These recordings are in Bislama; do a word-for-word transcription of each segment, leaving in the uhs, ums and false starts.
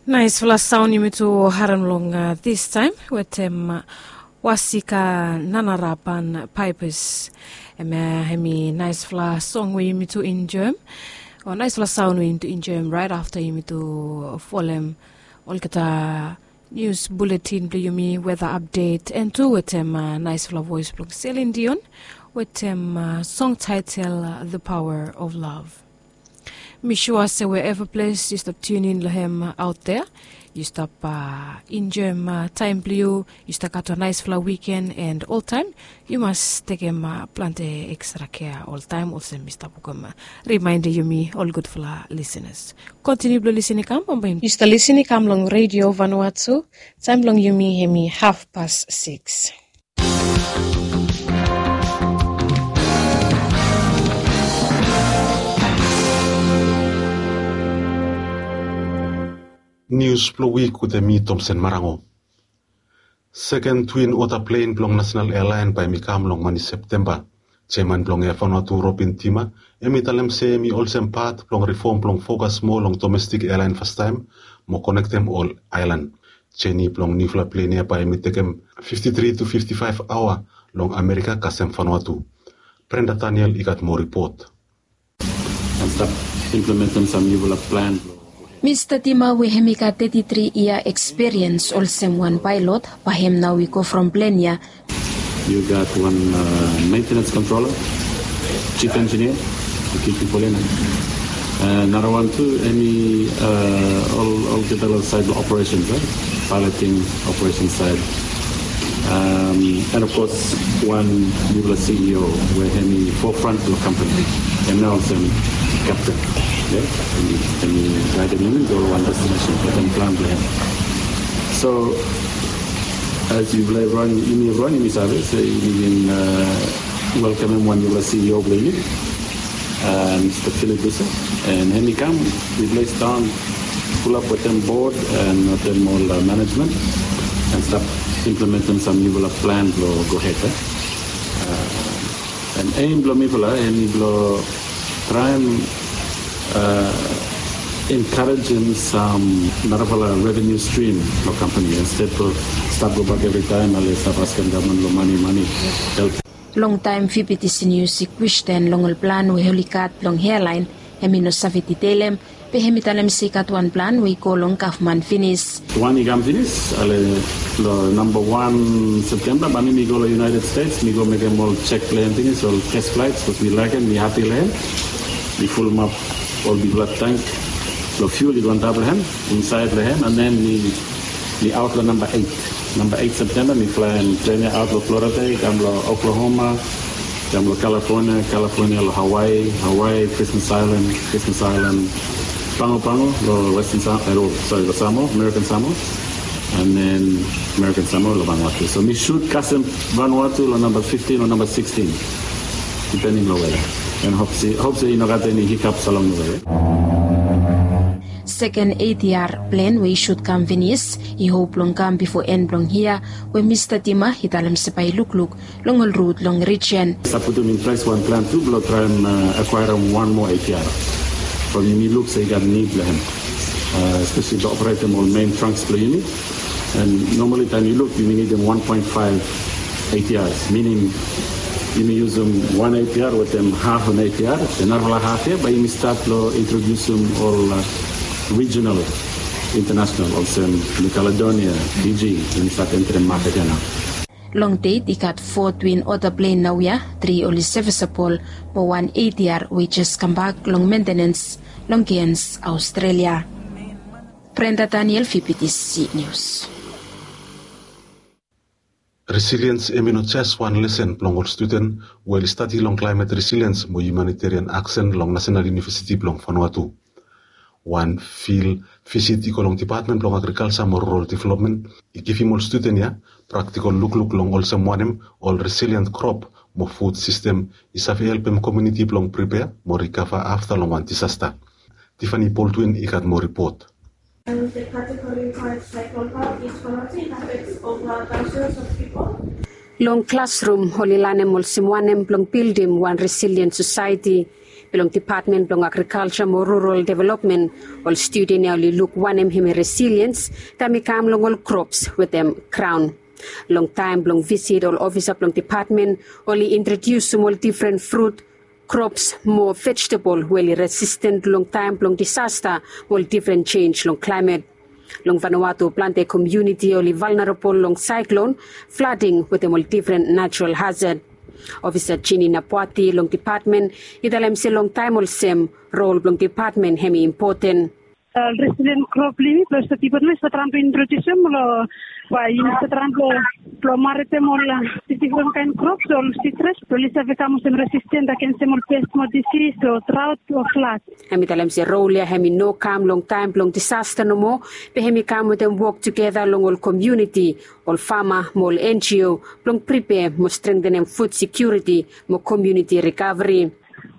Naisfala saon yumi tu harem long distaem wetem Wasika Nanarapan Paipes. Hemia hemi naisfala song we yumi tu enjoem, o naisfala saon we yumi tu enjoem raet afta yumi tu folem olgeta nius buletin blong yumi, weta apdet, and tu wetem naisfala voes blong Celine Dion wetem song taetel The Power of Love. Mi sua se wherever ples yu stap tunin long hem aot dea, yu stap enjoem taem blong yu, yu stap gat wan naesfala wiken, and oltaem yu mas tekem plante ekstra kea oltaem olsem mi stap wokem rimaendem yumi ol gudfala lisenas. Kontiniu blong lisin i kam bambae. Yu stap lisin i kam long Redio Vanuatu. Taem blong yumi hemi hafpas sikis. Nius blong wik wetem mi, Tomsen Marango. Seken twin ota plen blong Nasenal Ealaen bae hemi kam long mani Septemba. Jeaman blong Air Vanuatu, Robin Tima, hemi talem se hemi olsem pat blong rifom blong fokas moa long domestik ealaen fastaem mo konektem ol aelan. Jeni blong niufala plen ya bae hemi tekem fifti tri tu fifti faef aoa long Amerika kasem Vanuatu. Brenda Daniel i gat moa ripot. Mista Tima we hemi gat teti tri yia ekspiriens olsem wan paelot, bae hem nao i go from plen ya. Yu gat wan mentenens kontrola, jif enjinia, yu kip pipol ya nao. Narawan tu hemi olgeta long saed blong operesens, paeloting, operesens saed. And of course wan niufala CEO we hemi forefront blong kampani, hem nao olsem kapten. Hemi gaedem yumi go long wan destinesen wetem plan blong hem. So as yufala evriwan, yumi evriwan yumi save se yumi bin welkamem wan niufala CEO blong yumi, Mista Philip Busa, and hemi kam, yufala i stap fulap wetem bod and wetem ol manejmen and stap implementem sam niufala plan blong gohed. And eim blong mifala hemi blong traem enkarejem sam narafala revenu strim long kampani, insted blong stap gobak evritaem ale stap askem gavman long mane, mane, help. Longtaem VPTC Nius i kwestin long ol plan we oli gat blong ealaen, hemi no save ditelem, be hemi talem se i gat wan plan we i go long gavman finis. Wan i kam finis, ale long namba wan Septemba bae mi mi go long United States, mi go mekem ol jek blong hem finis, ol test flaets, bikos mi laekem, mi hapi long hem. Mi fulumap ol bigfala tank blong fiul i go antap long hem, insaed long hem, and then mi, mi aot long namba eit. Namba eit Septemba mi flaem plen ya aot long Florida, i kam long Oklahoma, i kam long California, California long Hawaii, Hawaii, Christmas Island, Christmas Island, Pago Pago long Western Sa-, eh, long, sorry, long Samoa, American Samoa, and then American Samoa long Vanuatu. So mi shoot kasem Vanuatu long namba fiftin o namba sixteen, depending long weather. And hope se, hope se i no gat eni hiccups along the way. Seken ATR plen we i shoot kam finis i hop blong kam bifo en blong yia, we Mista Tima i talem se bae i lukluk long ol rut long rijen. Stap putum in ples wan plan tu blong traem, eh, akwaerem wan moa ATR. From yumi luk se i gat nid long hem, eh, espeseli blong operetem ol mein tranks blong yumi. And normali taem yu luk, yumi nidim wan poen faef ATRs, minim yumi yusum wan ATR wetem haf an ATR, narafala haf ya bae yumi stat long introdiusum ol, eh, rijinal, intanasonal, olsem New Caledonia, Fiji, yumi stat enterem maket ya nao. Long det i gat fo twin ota plen naoia, tri oli sevisabol, mo wan ATR we i jes kambak long mentenens long Cairns, Australia. Brenda Daniel, VPTC News. Resiliens hemi no jes wan lesen blong ol studen we oli stadi long klaemet resiliens mo humanitarian aksen long Nasenal Univesiti blong Vanuatu. Wan fil visit i go long Dipatmen blong Agrikalja mo Rural Developmen i givim ol studen ya praktikol lukluk long olsem wanem ol resilient krop mo fud sistem i save helpem komuniti blong pripea mo rikava afta long wan disasta. Tiffany Baldwin i gat moa ripot. And the category five cyclone power is connecting affects over thousands of people. Long klasrum, oli lanem olsem wanem blong bildim wan resilient sosaeti. Bilong Depatmen bilong Agrikalsa mo Rural Developmen, ol studen ya oli luk wanem hemi resiliens taem i kam long ol krops wetem graon. Long taem bilong visit, ol ofisa bilong depatmen oli introdiusim ol difren frut, krops mo vejetebol we oli resisten long taem bilong disasta mo ol difren jenis long klaemet. Long Vanuatu, plante komuniti oli valnerabol long saeklon, flading wetem ol difren natural hazad. Ofisa Jini Napuati long depatmen i talem se long taem olsem, rol bilong depatmen hemi impoten. Resilien krop blong yumi, blong ol depatmen i save traem blong introdiusim long, bae yumi save traem blong maretem ol difren kaen krops, ol sitrus, blong oli save kam olsem resisten agensem ol pes mo disis o draot o flat. Hemi talem se rol ya hemi no kam long taem blong disasta nomo, be hemi kam wetem wok tugeta long ol komuniti, ol fama mo ol N G O, blong pripea mo strengtenem fud sekiuriti mo komuniti rikaveri.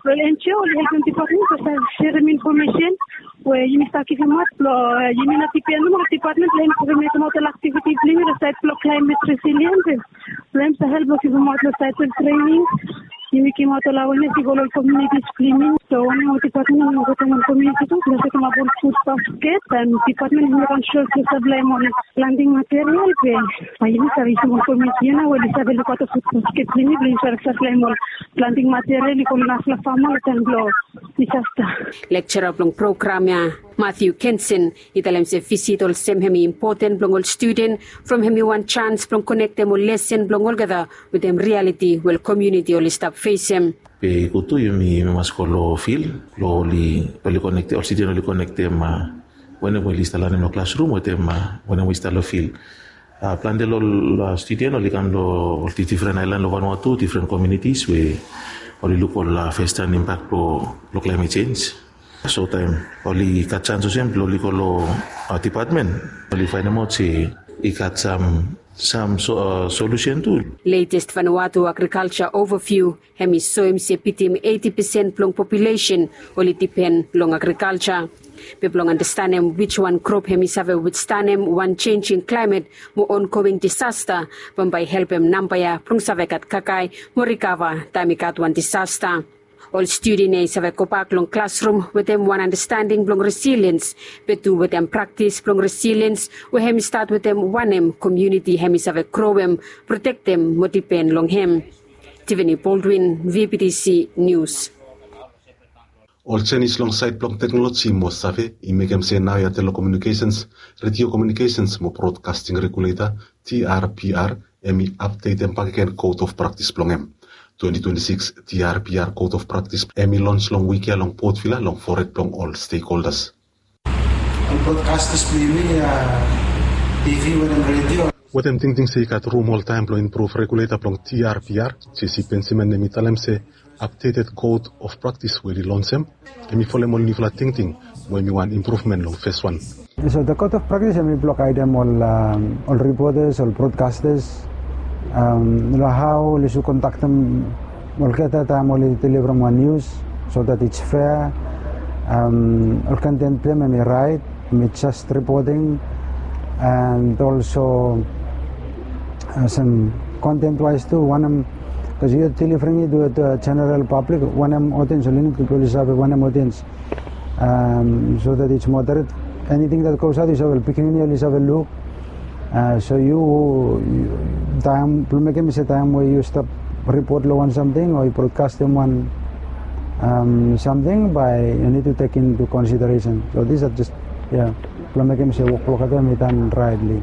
Ol N G O oli helpem depatmen blong save serem infomesen we yumi stap givimaot blong yumi no dipen nomo long depatmen blong yumi save mekem ol aktiviti blong yumi long saed blong klaemet resiliens. Blong yumi save help blong givimaot long saed blong trening. Yumi givimaot ol awenes i go long ol komunitis blong yumi. So wanem ol depatmen i wokem ol komuniti tu blong setemap ol fud basket, and depatmen i mekem sua blong saplaem ol planting material be bae yumi save yusim ol komuniti ya nao we oli save lukaot ol fud basket blong yumi blong yumi save saplaem ol planting material i go long narafala fama long taem blong disasta. Lekcara blong program ya, Matthew Kenson, i talem se visit olsem hemi impoten blong ol studen, from hemi wan janis blong konektem ol lesen blong olgeta wetem rialiti we ol komuniti oli stap fesem. Be i gud tu yumi, yumi mas go long fil blong oli, oli konektem, ol studen oli konektem, a, wanem we oli stap lanem long klasrum wetem, a, wanem we oli stap long fil. A, plante long ol, a, studen oli kam long ol di-, difren aelan long Vanuatu, difren komunitis we oli luk ol, a, fastaem impak blong, blong klaemet jenis. So taem oli gat janis olsem blong oli go long, a, depatmen, oli faenemaot se i gat sam, sam so, a, solusen tu. Latest Vanuatu Agriculture Overview hemi soem se bitim eiti pesen blong populesen oli dipen long agrikalsa. Be blong andastanem wiswan krop hemi save withstanem wan jenisim klaemet mo ongoing disasta, bambae i helpem namba ya blong save gat kakae mo rikava taem i gat wan disasta. Ol studen ya i save gobak long klasrum wetem wan andastanding blong resiliens, be tu wetem praktis blong resiliens we hemi stat wetem wanem komuniti hemi save groem, protektem mo dipen long hem. Tiffany Baldwin, V B T C News. Ol jenis long saed blong teknoloji mo save i mekem se naoia Telekomunikesens, Redio Komunikesens mo Brodkasting Regulator, T R B R, hemi apdetem bakegen Code of Practice blong hem. Twenty twenty-six T R B R Code of Practice hemi lons long wik ya long Port Vila long fored blong ol stakeholders. Ol broadcasters blong yumi, a, T V wetem redio. Wetem tingting se i gat rum oltaem blong impruv, regulator blong T R B R, Jesse Benjamin, hemi talem se updated code of practice we oli lonsem hemi folem ol niufala tingting we hemi wan impruvmen long feswan. So the code of practice hemi blong gaedem ol, a, ol reporters, ol broadcasters, a, long hao oli should kondaktem olgeta taem oli deliverem wan nius, so that it's fair. A, ol content blong hem hemi raet, hemi just reporting, and also, a, sam content wise tu, wanem, because you're delivering it to the general public, wanem audience oli nid, oli save wanem audience. A, so that it's moderate. Anything that goes out, yu save, pikinini oli save luk. A, so yu, yu, taem blong mekem se taem we yu stap ripot long wan samting o yu brodkastem wan, a, samting, bae yu nid tu tek into consideration. So these are just, ya, blong mekem se wok blong olgeta hemi tan raetli.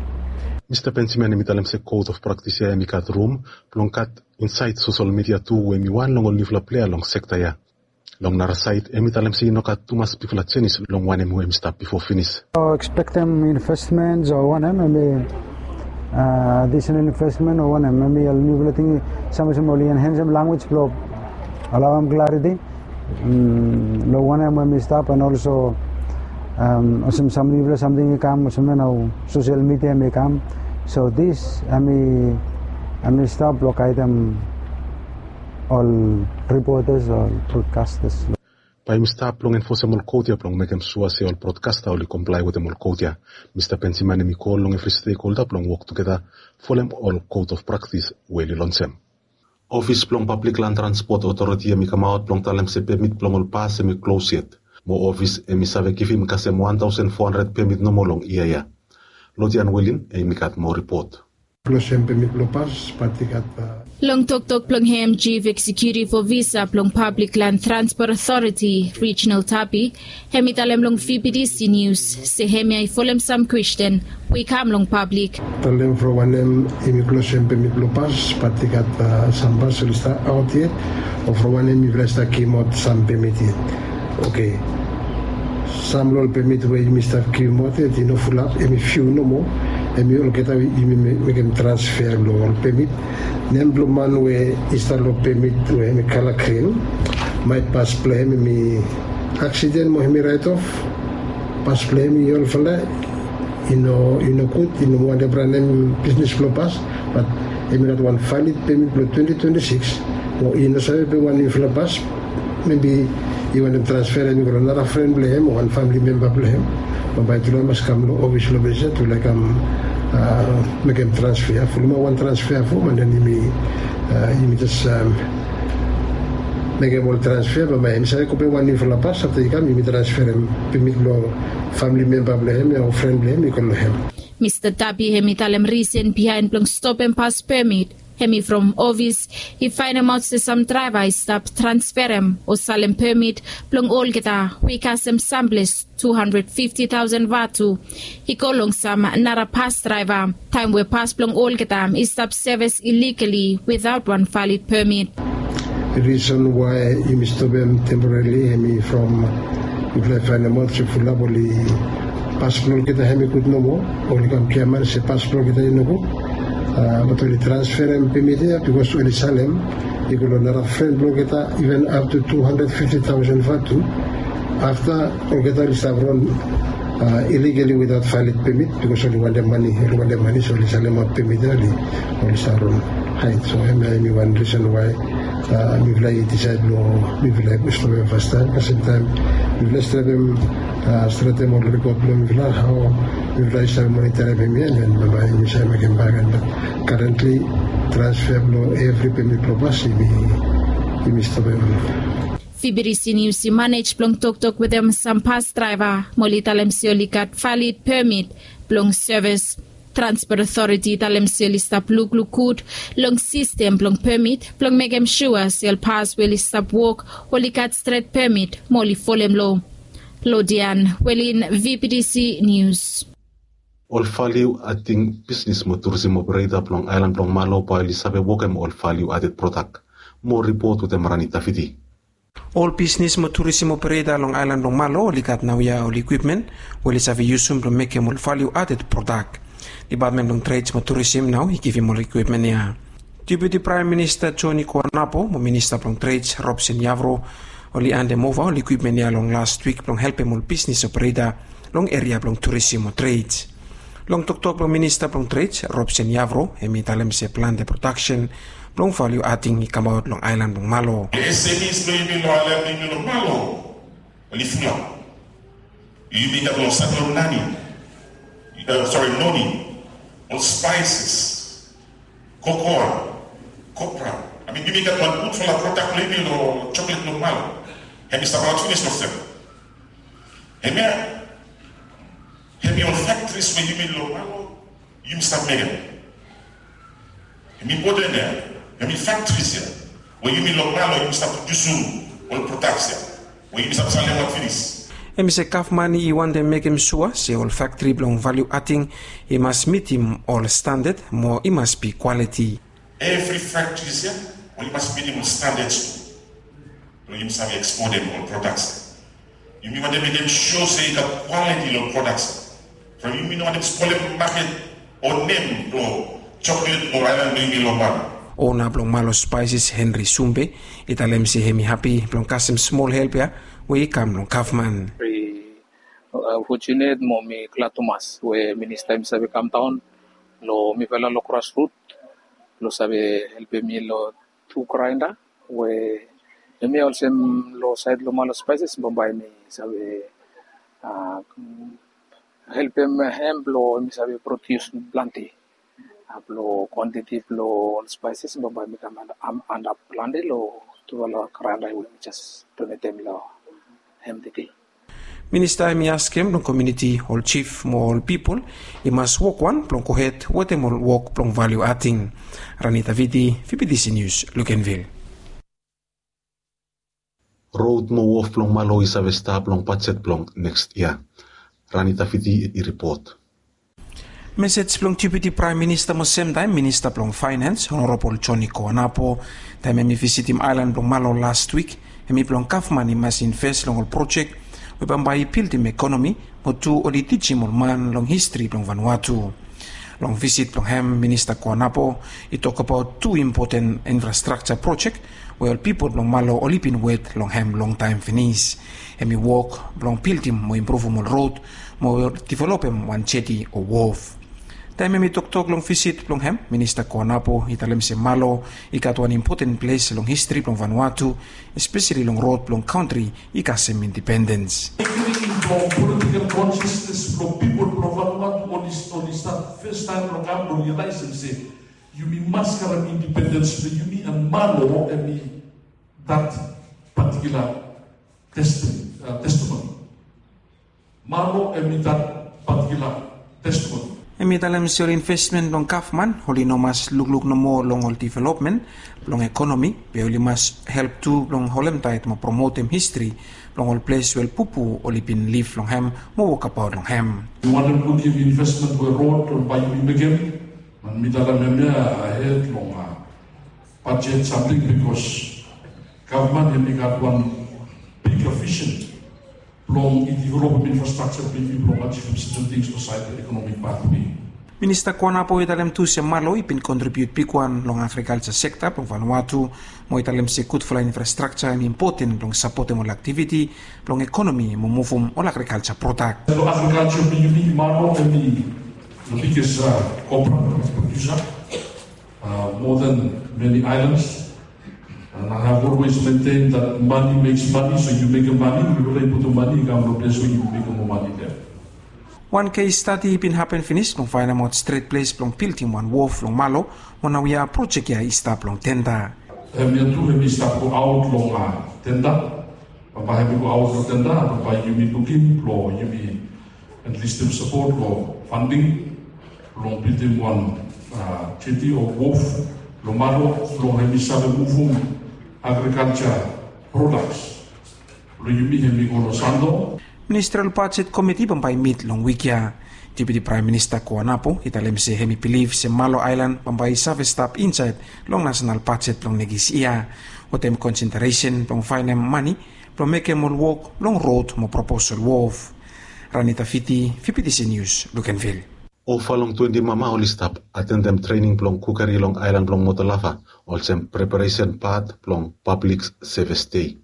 Mista Benjamin hemi talem se code of practice ya hemi gat rum blong gat insaed sosel midia tu, we hemi wan long ol niufala plea long sekta ya. Long nara saed, hemi talem se i no gat tumas bigfala jenis long wanem we hemi stap bifo finis. Ekspektem investments o wanem, hemi, a, additional investment o wanem, hemi ol niufala ting, sam olsem oli enhancem language blong alaoem clarity, mm, long wanem we hemi stap, and also, a, olsem sam niufala samting i kam, olsem nao social media hemi kam. So this, hemi, hemi stap blong gaedem ol reporters, ol broadcasters. Bae yumi stap blong enfosem ol kod ya blong mekem sua se ol brodkasta oli komplae wetem ol kod ya. Mista Benjamin hemi kol long evri stekholda blong wok tugeta folem ol code of practice we oli lonsem. Ofis blong Pablik Lan Transpot Otoriti hem i kamaot blong talem se pemit blong ol pas hem i klos yet. Mo ofis hem i save givim kasem wan taosen fo handred pemit nomo long yia ya. Lodian Wilin hem i gat moa ripot. Klosem pemit blong pas, bat i gat. Long toktok blong hem, Chief Executive Officer blong Pablik Lan Transpot Otoriti, Reginald Tapi, hem i talem long V B T C Nius se hemia i folem sam kwesten we i kam long pablik. Talem from wanem yumi klosem pemit blong pas, bat i gat sam pas oli stap aot yet, o from wanem yumi stap givim aot sam pemit yet. Oke. Sam long ol pemit we yumi stap givim aot yet i no fulap, hem i fiu nomo. Hem i olgeta yumi mekem transfea long ol pemit. Nem blong man we i stap long pemit we hem i kala grin, maet pas blong hem hem i aksiden mo hem i raet of. Pas blong hem i olfala, i no i no gud, i no moa wantem ranem bisnis blong pas. Bat hem i gat wan valid pemit blong twenti twenti sikis. Mo i no save pem wan niufala pas. Mebi i wantem transferem i go long nara fren blong hem o wan famili memba blong hem. Bambae tufala i mas kam long ofis long ples ya tufala i kam mekem transfea. Fuluma wan transfea fo, and then yumi yumi jes mekem ol transfea. Bambae hem i save go pem wan niufala pas afta i kam yumi transferem pemit blong famili memba blong hem ya o fren blong hem i go long hem. Mista Tapi hem i talem risen bihaen blong stopem pas pemit hem i from ofis i faenemaot se sam draeva i stap transferem o salem pemit blong olgeta we i kasem samples tu handred fifti taosen vatu i go long sam nara pas draeva, taem we pas blong olgeta i stap sevis iligali witaot wan valid pemit. Risen wae yumi stopem temporarili hem i from mifala i faenemaot se fulap oli pas blong olgeta hem i gud nomo. Oli kam giaman se pas blong olgeta i nogud. Bat oli transferem pemit ya bikos oli salem i go long nara fren blong olgeta, iven aptu tu handred fifti taosen vatu. Afta olgeta oli stap ron iligali witaot valid pemit bikos oli wantem mane, oli wantem mane, so oli salemaot pemit ya oli oli stap ron haed. So hemia hem i wan risen wae mifala i disaed long mifala i stopem fastaem. Kasem taem mifala i stretem stretem ol ripot blong mifala hao mifala i save monitarim hemia, and then bambae yumi save mekem bagen. Bat karentli transfea blong evri pemit blong pas yumi stopem. V B T C Nius i manej blong toktok wetem sam pas draeva mo oli talem se oli gat valid pemit blong sevis. Transpot Otoriti i talem se oli stap lukluk gud long sistem blong pemit blong mekem sua se ol pas we oli stap wok oli gat stret pemit mo oli folem loa. Lodian Wilin, V B T C Nius. Ol valiu ading bisnis mo turisim opereta blong aelan blong Malo bae oli save wokem ol valiu aded prodak. Moa ripot wetem Rani Tafiti. Ol bisnis mo turisim opereta long aelan blong Malo oli gat naoia ol ikwipmen we oli save yusum blong mekem ol valiu aded prodak. Depatmen blong Treds mo Turisim nao i givim ol ikwipmen ya. Deputi Praem Minista Joni Kuanapo mo Minista blong Treds Robson Yavro oli andemova ol ikwipmen ya long las wik blong helpem ol bisnis opereta long eria blong turisim o treds. Long toktok blong Minista blong Treds Robson Yavro hem i talem se plante prodaksen blong valiu ading i kamaot long aelan blong Malo. Ol S M Es blong yumi long aelan blong yumi long Malo oli fulap. Yumi gat long sait blong nani, sori, noni, ol spaises, kokoa, kopra. I mean yumi gat wan gudfala prodak blong yumi long joklet blong Malo. Hem i stap aot finis long sem. Hemia hem i ol faktris we yumi long Malo yumi stap mekem. Hem i impoten ya. Hem i faktris ya we yumi long Malo yumi stap prodiusum ol prodaks ya we yumi stap salemaot finis. Hem i se gavman i wantem mekem sua se ol faktri blong valiu ading i mas mitim ol standad mo i mas bi kwaliti. Evri faktris ya we i mas mitim ol standads tu blong yumi save eksportem ol prodaks ya. Yumi wantem mekem sua se i gat kwaliti long prodaks ya from yumi no wantem spolem maket o nem blong joklet o aelan blong yumi long Malo. Ona blong Malo Spaises Henry Sumbe i talem se hem i hapi blong kasem smol help ya we i kam long gavman. Very fortunate mo mi glad tumas we minista hem i save kamdaon long mifala long grasrut blong save helpem mi long tu graenda we hemia olsem long sait long Malo Spaises bambae mi save helpem hem blong mi save prodius plante. Blo kwantiti blo ol spaises bambae mi kam antap plante lo tufala granda we mi jes donetem lo hem tede. Minista hemi askem long komuniti, ol jif mo ol pipol i mas wokwan blong gohed wetem ol wok blong valiu ating. Ranita Viti, V B T C News, Lukenvil. Rod mo wof blong Malo i save stap long bajet blong neks yia. Ranita Viti i ripot. Mesej blong Deputi Praem Minista mo semtaem Minista blong Faenens, Honorabol Joni Koanapo, taem hemi visitim aelan blong Malo las wik, hemi blong gavman i mas inves long ol projek we bambae i bildim ekonomi, mo tu oli tijim ol man long histri blong Vanuatu. Long visit blong hem, Minista Koanapo i tokbaot tu impoten infrastrakja projek we ol pipol blong Malo oli bin wet long hem longtaem finis. Hemi wok blong bildim mo impruvum ol rod mo divelopem wan jeti o wof. Taem hemi toktok long visit blong hem, Minista Koanapo i talem se Malo i gat wan impoten ples long histri blong Vanuatu, espeseli long rod blong kantri i kasem indipendens. Beginning blong political consciousness blong pipol blong Vanuatu oli, oli stat fastaem blong kam blong rialaesem se yumi mas karem indipendens blong yumi, and Malo hemi that particular testi-, uh, testimony. Malo hemi that particular testimony. Hemi talem se ol invesmen blong gavman oli no mas lukluk nomo long ol divelopmen blong ekonomi, be oli mas help tu blong holemtaet mo promotem histri blong ol ples we ol pupu oli bin liv long hem mo wokbaot long hem. Yu wantem lukim investment we rod we bae yumi mekem, and mi talem hemia ahed long, uh, bajet samting, bikos gavman hemi gat wan bigger vision blong i divelopem infrastrakja blong yumi blong ajivim serten tings long saed blong ekonomik pathway. Minista Koanapo i talem tu se Malo i bin kontribiut bigwan long agrikalja sekta blong Vanuatu, mo i talem se gudfala infrastrakja hemi impoten blong sapotem ol aktiviti blong ekonomi mo muvum ol agrikalja prodak. Long agrikalja blong yumi, Malo hemi the biggest, uh, copra producer, uh, more than many islands. And I have always maintained that money makes money, so yu mekem mane, yu putum mane i kam long ples we yu mekem moa mane there. Wan kes stadi i bin hapen finis blong faenemaot stret ples blong bildim wan wof long Malo, mo naoia projek ia i stap long tenda. Hemia tu hemi stap goaot long, uh, tenda. Bambae hemi goaot long tenda, bambae yumi lukim blong yumi enlistem sapot long funding blong bildim wan, uh, jeti o wof long Malo blong hemi save muvum agrikalja prodaks blong yumi hemi go long Sandaun. Ministerial Bajet Komiti bambae i mit long wik ia. Deputi Praem Minista Koanapo i talem se hemi bilif se Malo aelan bambae i save stap insaed long nasenal bajet blong nekis yia, wetem konsentresen blong faenem mane blong mekem ol wok blong rod mo propos ol wof. Ranita Viti, V B T C News, Lukenvil. Ova long twenti mama oli stap atendem trening blong kukeri long aelan blong Motolava, olsem preparesen pat blong Pablik Sevis Dei.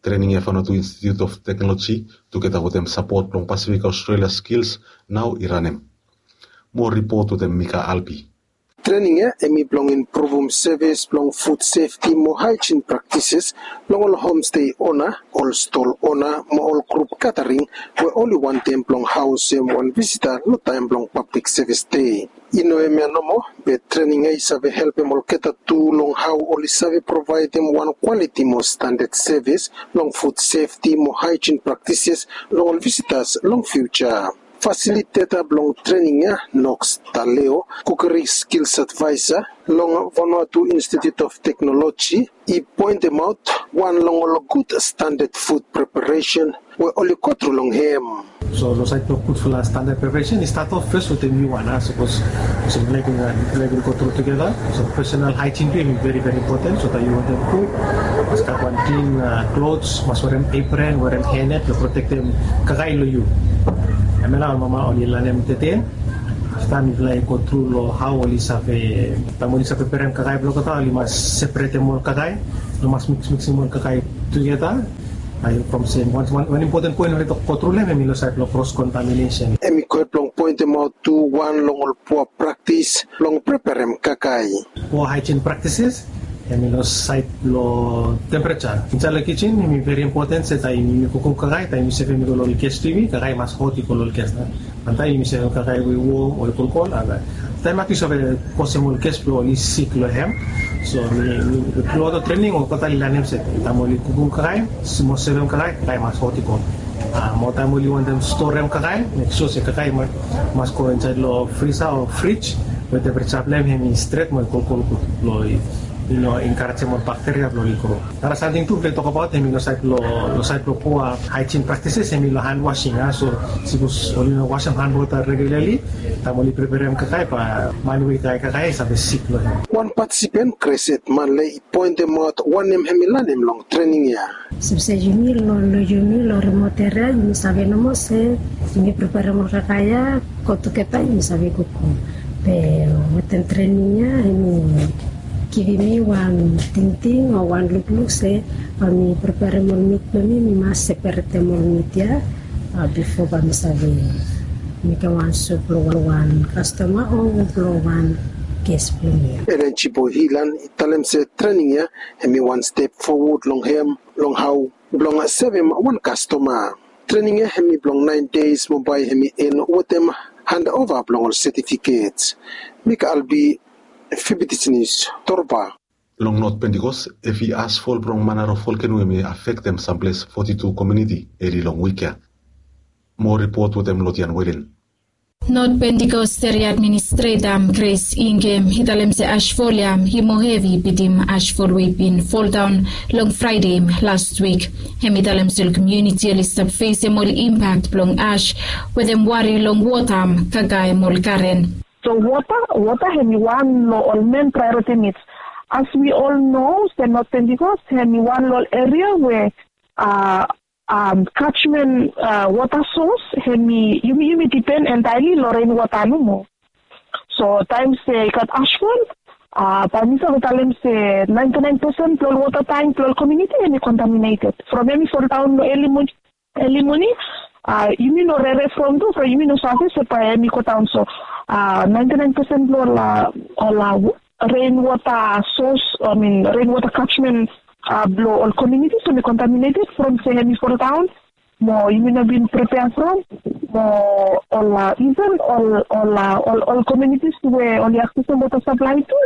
Trening ia Vanuatu Institute of Technology tugeta wetem sapot blong Pacific Australia Skills nao i ranem. Moa ripot wetem Mika Albi. Trening ia hemi blong impruvum sevis blong fud sefti mo haejin praktises blong ol homstei ona, ol stol ona mo ol grup gatering we oli wantem blong haosem wan visita long taem blong Pablik Sevis Dei. I no hemia nomo, be trening ia i save helpem olgeta tu long hao oli save provaedem wan kwaliti mo standad sevis long fud sefti mo haejin praktises long ol visitas long fiuja. Fasiliteta blong trening ia, Knox Taleo, Kukeri Skills Adviser long Vanuatu Institute of Technology, i poentemaot wan long ol gud standad fud preparesen we oli gotru long hem. So long saed blong gudfala standad preparesen, i stat of fes wetem yu wan, a, sapos olsem mifala i bin, mifala i bin gotru tugeta. So personal haejin tu hemi veri, veri impoten, so taem yu wantem kuk, mas gat wan klin, a, klos, mas werem apron, werem hairnet blong protektem kakae long yu. Hemia nao ol mama oli lanem tede. Afta mifala i gotru long hao oli save, taem oli save preparem kakae blong olgeta, oli mas separetem ol kakae, no mas miks, miksim ol kakae tugeta. Ae from sem, wan, wan, wan impoten poen we oli gotru long hem hemi long saed blong cross contamination. Hemi go hed blong poentemaot tu wan long ol poa praktis blong preparem kakae. Poa haejin praktises, Hemi long saed blong tempereja. Insaed long kijen hemi veri impoten se taem yumi kukum kakae, taem yumi sevem i go long ol ges blong yumi, kakae i mas hot i go long ol ges. Wantaem yumi sevem kakae we i wom o i kolkol, a taem mak yu save kosem ol ges blong oli sik long hem. So mi, mi, long trening oli totali lanem se taem oli kukum kakae, mo sevem kakae, kakae i mas hot i go. A, mo taem oli wantem storem kakae, mek sua se kakae i mas go insaed long frisa o frij we tempereja blong hem hemi stret mo i kolkol gud blong i no enkarejem ol bakteria blong oli gro. Nara samting tu blong tokabaot hemi long saed blong, long saed blong pua haejin praktises hemi long han wasing, a. So sipos oli no wasem han wota regularli, taem oli preperem kakae bae man we i drai kakae i save sik long hem. Wan patisipen Cresset Manley i poentemaot wanem hemi lanem long trening ya. Sapos yumi long, long yumi long remot eria yumi save nomo se yumi preperem ol kakae ya, go tugeta yumi save kukum. Be wetem trening ya hemi givim mi wan tingting o wan lukluk se bae mi preperem ol mit blong mi, mi mas seperetem ol mit ya, a, bifo bae mi save mekem wan sup blong wan kastoma o blong wan ges blong mi. Elen Jibo Hilan i talem se trening ya hemi wan step fowod long hem long hao blong sevem wan kastoma. Trening ya hemi blong naen deis mo bae hemi en wetem handova blong ol setifiket. Mika Albi, Fibidis Nius, Torba. Long Not Pentikos, hevi asfol blong Manaro Volkeno hemi afektem samples foti tu komuniti eli long wik ya. Moa ripot wetem Lodian Welen. Not Pentikos Eria Administreta Grace Ingem i talem se asfol ya i moa hevi bitim asfol we i bin foldaon long Fraede las wik. Hemi talem se ol komuniti oli stap fesem ol impak blong as wetem wari long wota, kakae mo ol garen. So wota, wota hemi wan long ol men praeoriti nids. As wi ol no se Not Pentikos hemi wan long ol eria we, a, a, kajmen, a, wota sos hemi, yumi, yumi dipen entaeli long ren wota nomo. So taem se i gat asfol, a, bae mi save talem se naenti naen pesen blong ol wota tank blong ol komuniti hemi kontaminated from hemi foldaon long eli moning, eli moning. A, yumi no rere from tu from yumi no save se bae hemi godaon. So, a, naenti naen pesen blong ol, a, ol, a, ren wota sos, I mean ren wota kajmen, a, blong ol komuniti hemi kontaminated from se hemi foldaon mo yumi no bin prepea from, mo ol, a, iven ol, ol, a, ol, ol komunitis we oli aksesem wota saplae tu,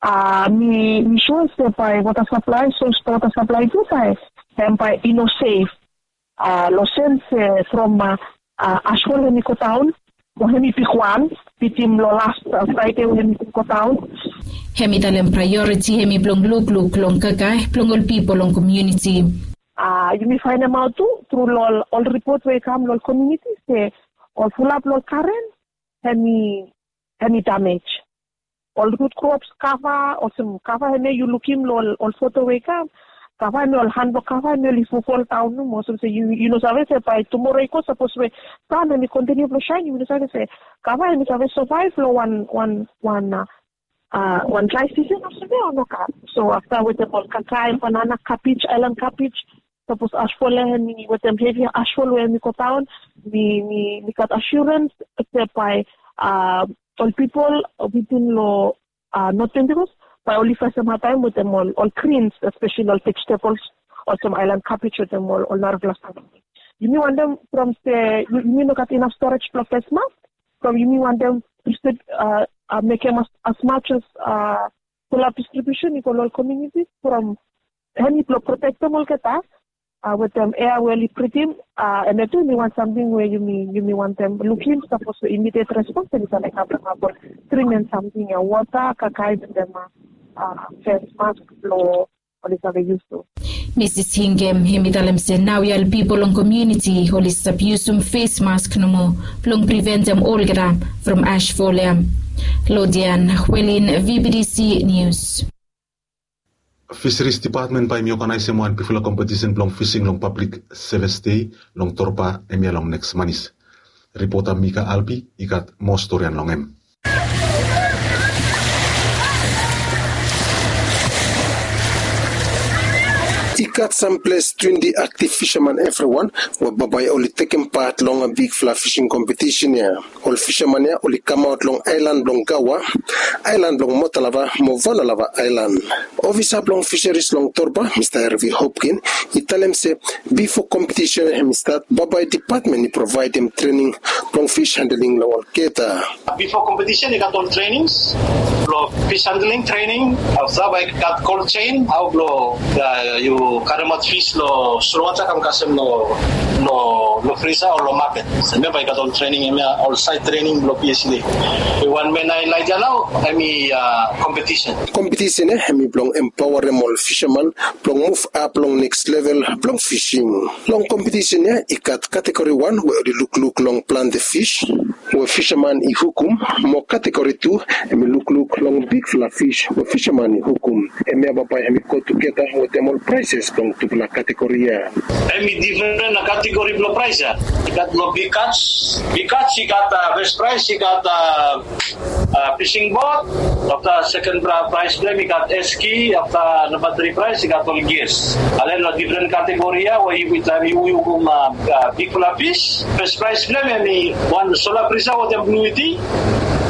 a, mi, mi sua se bae wota saplae, sos blong wota saplae tu bae hem bae i no sef, a, long sens se from, a, a, asfol hemi godaon mo hemi bigwan bitim long las, a, Fraede we hemi godaon. Hemi talem praeoriti hemi blong lukluk long kakae blong ol pipol long komuniti. A, yumi faenemaot tu tru long ol, ol ripot we i kam long ol komuniti se ol fulap long ol garen hemi, hemi damej. Ol rut krops kava, olsem kava hemia yu lukim long ol, ol foto we i kam, kava hemia, ol han blong kava hemia oli fofol daon nomo, olsem se yu, yu no save se bae tumora i go sapos we san hemi kontiniu blong saen, yu no save se kava hemi save savaev long wan, wan, wan, a, a, wan drae sisen olsem ia o nogat. So afta wetem ol kakae, banana, kabej, aelan kabej, sapos asfol ia hemi wetem hevi asfol we hemi godaon, mi, mi, mi gat asurens se bae, a, ol pipol wetem long, a, Not Pentikos bae oli fesem hadtaem wetem ol, ol grins, espeseli ol vejetables olsem aelan kabej wetem ol, ol narafala samting. Yumi wantem from se yu, yumi no gat inaf storage blong fes mask, from yumi wantem distrib-, a, a, mekem as, as much as, a, fulap distribution i go long ol komuniti from hemi blong protektem olgeta, a, wetem ea we oli bridim, a, hemia tu hemi wan samting we yumi, yumi wantem lukim, sapos we immediate response hemi save kam long ol treatment samting ia, wota, kakae wetem, a, a, fes mask blong oli save yus tu. Misis Ingem hemi talem se naoia ol pipol long komuniti oli stap yusum fes mask nomo blong priventem olgeta from asfol ia. Lodian Welin, V B D C News. Fisheries Department bae hemi oganaesem wan bigfala kompetisen blong fising long Pablik Seves Dei long Torba hemia long neks manis. Ripota Mika Albi i gat moa storian long hem. I gat sam ples twenti aktiv fisaman evriwan we bambae oli tekem pat long bigfala fising kompetisen ya. Ol fisaman ya oli kamaot long aelan blong Gaua, aelan blong Motalava mo Vanalava aelan. Ofisa blong fisaris long Torba, Mista Hervey Hopkin, i talem se bifo kompetisen hem i stat, bambae dipatmen i provaedem trening blong fis handeling long olgeta. Bifo kompetisen i gat ol trenings blong fis handeling trening, afta bae i gat cold chain, hao blong yu karemaot fis long solwota kam kasem long frisa o long maket. Hemia bae i gat ol trening, hemia ol saed trening blong P S L A. Wan men ae laet ya nao hemi kompetisen. Kompetisen ya hemi blong empaoarem ol fisaman blong muv ap long neks level blong fising. Long kompetisen ya i gat kategori wan we oli lukluk long plante fis we fisaman i hukum, mo kategori tu hemi lukluk long bigfala fis we fisaman i hukum. Hemia bambae hemi go tugeta wetem ol praeses blong tufala kategori ya. Hemi difren kategori blong praes ya. I gat long big kats, big kats i gat fes praes, i gat fising bot. Afta seken praes blong hem i gat eski, afta namba tri praes i gat ol gias. Ale long difren kategori ya we yu taem yu hukum bigfala fis, fes praes blong hem hemi wan sola frisa wetem blu iti.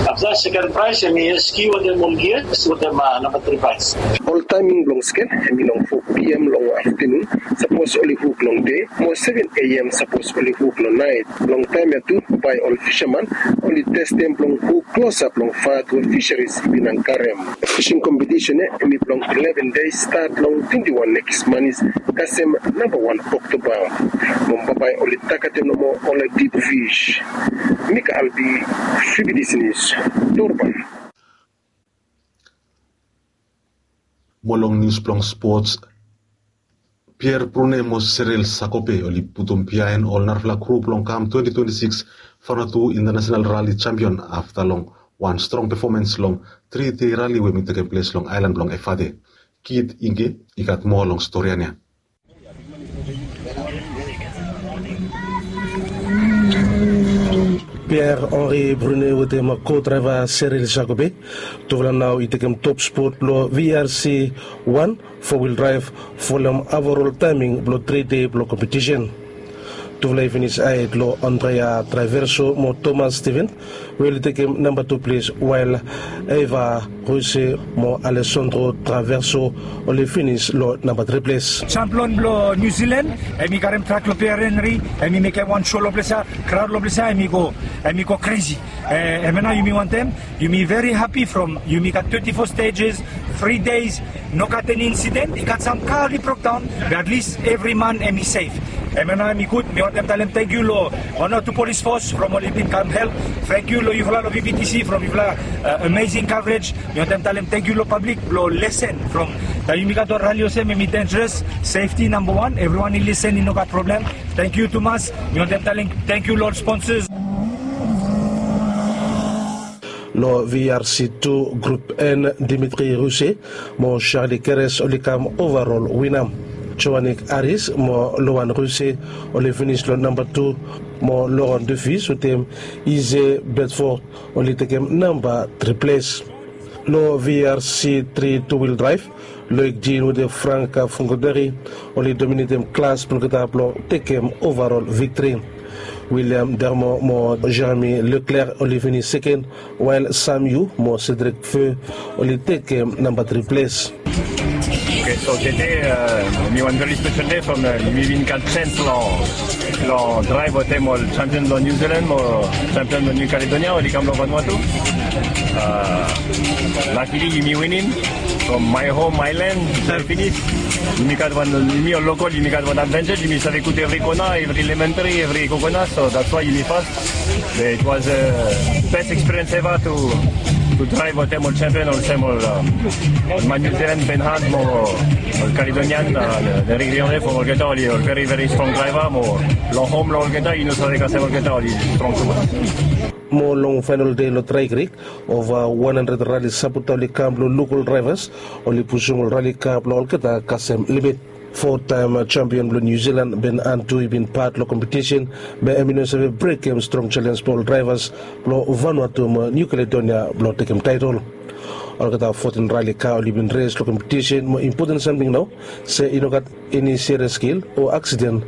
Afta seken praes hemi eski wetem ol gias wetem namba tri praes. Ol taeming blong skel hemi long fo P M long aftenun sapos oli huk long dei, mo seven A M sapos oli huk long naet. Long taem ya tu bae ol fisaman oli testem blong huk klosap long fat we fisaris i bin ankarem. Fising kompetisen ya hemi blong eleven dei, stat long twenti wan nekis manis kasem namba wan Oktoba. Mo bambae oli tagetem nomo ol dip fis. Mika Albi, Fibidis Nius, Torba. Mo long nius blong spots, Pierre Prune mo Cyril Sakope oli putum biaen ol narafala grup blong kam twenti twenti sikis Vanuatu International Rally Champion afta long wan strong pefomans long tri dei rali we hemi tekem ples long aelan blong Efate. Kit Inge i gat moa long storian ya. Pierre Henri Prune wetem ko-draeva Cyril Sakope, tufala nao i tekem top spot blong V R C wan, fo wil draev, folem averol taeming blong tri dei blong kompetisen. Tufala i finis aed long Andrea Traverso mo Thomas Steven, we oli tekem namba tu ples, wael Eva Ruse mo Alessandro Traverso oli finis long namba tri ples. Champion blong New Zealand, hemi karem trak long Pierre Henry, hemi mekem wan show long ples ya, kraod long ples ya hemi go, hemi go kresi. Hemia nao yumi wantem, yumi very happy from yumi gat twenti fo stages, tri dei, no gat eni insiden. I gat sam ka oli brokdaon, be at least evri man hemi sef. Hemia nao hemi gud. Mi wantem talem tangkiu long wan o tu polis fos from oli bin kam help. Tangkiu long yufala long V B T C from yufala amazing coverage. Mi wantem talem tangkiu long pablik blong lesen from taem yumi gat ol rali olsem hemi denjeros. Sefti namba wan, evriwan i lesen i no gat problem. Tangkiu tumas. Mi wantem talem tangkiu long ol sponsors. Long V R C tu grup N, Dimitri Ruse mo Charlie Keres oli kam overall wina. Joanik Aris mo Loan Ruse oli finis long namba tu, mo Loan Dufis wetem Ize Bedford oli tekem namba tri ples. Long V R C tri tu wil draev, Loic Jean wetem Frank Fungoderi oli dominetem klas blong olgeta blong tekem overall viktri. William Dermo mo Jeremy Leclerc oli finis seken, wael Sam Yu mo Cedric Feu oli tekem namba tri ples. Oke, so tede mi wan very special day from mi bin gat chance long long draev wetem ol champion blong New Zealand mo champion blong New Caledonia oli kam long Vanuatu. Luckily yumi winim from my home, my land, very finis. Yumi gat wan, yumi ol lokol, yumi gat wan advantage, yumi save kuk evri kona, evri lemon tree, evri coconut, so that's why yumi fas. It was a best experience ever to to draev wetem ol champion, olsem ol man New Zealand, Ben Hunt mo ol Caledonian, Derek Riande, from olgeta oli ol very very strong draeva mo long hom blong olgeta yu no save kasem olgeta oli strong tumas. Mo long faenol dei long drae krik, ova wan handred rali sapota oli kam blong luk ol draevas oli pusum ol rali ka blong olgeta kasem limit. Fo taem champion blong New Zealand Ben Hunt tu i bin pat long kompetisen, be hem i no save brekem strong selens blong ol draevas blong Vanuatu mo New Caledonia blong tekem taetol. Olgeta fotin raeli ka oli bin res long kompetisen mo impoten samting nao se i no gat eni serias skil o aksiden